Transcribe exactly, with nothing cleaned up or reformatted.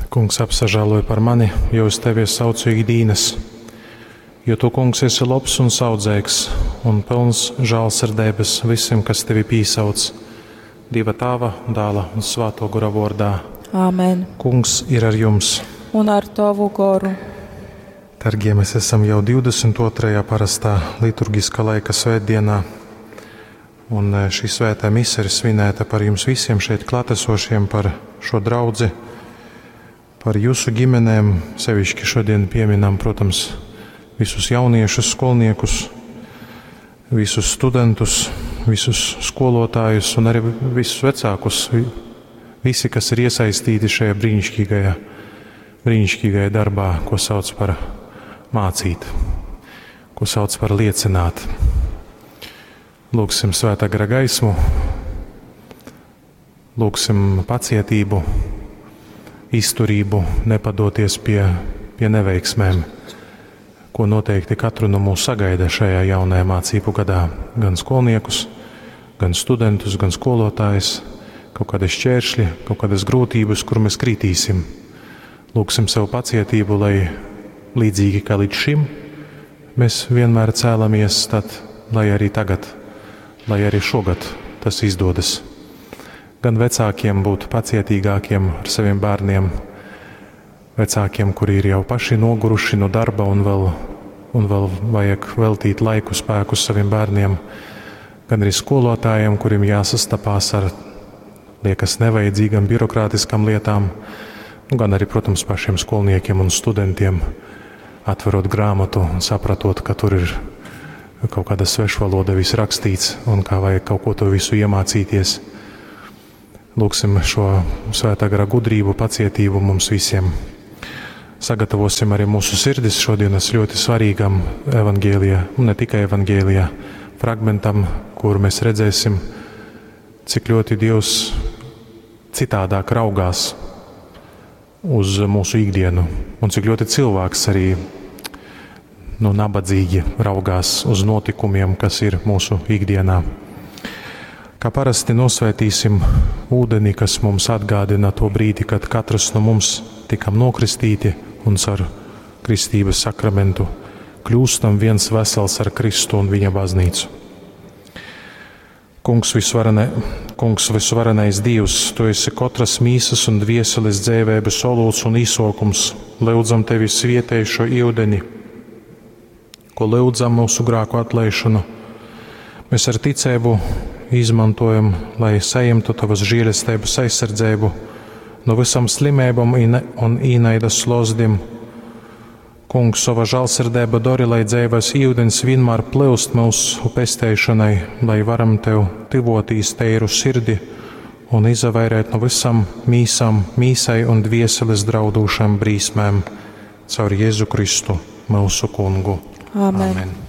Kungs, apsažāloj par mani, jo uz tevi es saucu ikdīnas. Jo tu, kungs, esi lobs un saudzeigs un pilns žālsirdeibas visiem, kas tevi pīsauc. Dieva Tāva, Dāla un Svāto Gora vārdā. Āmen. Kungs ir ar jums. Un ar tavu goru. Dargie, mēs esam jau divdesmit otrajā parastā liturgiskā laika svētdienā. Un, eh, šī svētā mise ir svinēta par jums visiem šeit klātesošiem, par šo draudzi, par jūsu ģimenēm. Sevišķi šodien pieminam, protams, visus jauniešus, skolniekus, visus studentus, visus skolotājus un arī visus vecākus, vi-, visi, kas ir iesaistīti šajā brīnišķīgajā, brīnišķīgajā darbā, ko sauc par mācīt, ko sauc par liecināt. Lūgsim svētā gara gaismu, lūgsim pacietību, izturību, nepadoties pie, pie neveiksmēm, ko noteikti katru no mūs sagaida šajā jaunajā mācību gadā. Gan skolniekus, gan studentus, gan skolotājus, kaut kādi šķēršļi, kaut kādas grūtības, kur mēs kritīsim. Lūgsim sev pacietību, lai līdzīgi kā līdz šim mēs vienmēr cēlamies, tad lai arī tagad, lai arī šogad tas izdodas. Gan vecākiem būt pacietīgākiem ar saviem bērniem, vecākiem, kuri ir jau paši noguruši no darba un vēl, un vēl vajag veltīt laiku, spēkus saviem bērniem, gan arī skolotājiem, kuriem jāsastapās ar, liekas, nevajadzīgām birokrātiskām lietām, nu, gan arī, protams, pašiem skolniekiem un studentiem, atverot grāmatu un sapratot, ka tur ir kaut kāda svešvaloda viss rakstīts un kā vajag kaut ko to visu iemācīties. Lūgsim šo svētā gara gudrību, pacietību mums visiem. Sagatavosim arī mūsu sirdis šodienas ļoti svarīgam evaņģēlijā, un ne tikai evaņģēlijā, fragmentam, kur mēs redzēsim, cik ļoti Dievs citādāk raugās uz mūsu ikdienu, un cik ļoti cilvēks arī nu, nabadzīgi raugās uz notikumiem, kas ir mūsu ikdienā. Kā parasti nosvētīsim ūdeni, kas mums atgādina to brīdi, kad katrs no mums tikam nokristīti un caur kristības sakramentu kļūstam viens vesels ar Kristu un viņa baznīcu. Kungs, visvarene, kungs, visvarenais Dievs, Tu esi katras mīsas un dvieseles dzēvēbes olūts un īsokums. Lūdzam Tevi svietēj šo ūdeni, ko lūdzam mūsu grēku atlaišanu. Mēs ar ticību izmantojam, lai saņemtu Tavas žēlestības aizsardzību no visam slimībām un īnaidas slozdim. Kungs, sava žālsirdība dori, lai dzīves ūdens vienmēr plūst mūsu pesteišanai, lai varam Tev tivotīs teiru sirdi un izavairēt no visam mīsam, mīsai un dvieseles draudūšām brīsmēm caur Jēzu Kristu, mūsu Kungu. Āmen. Amen.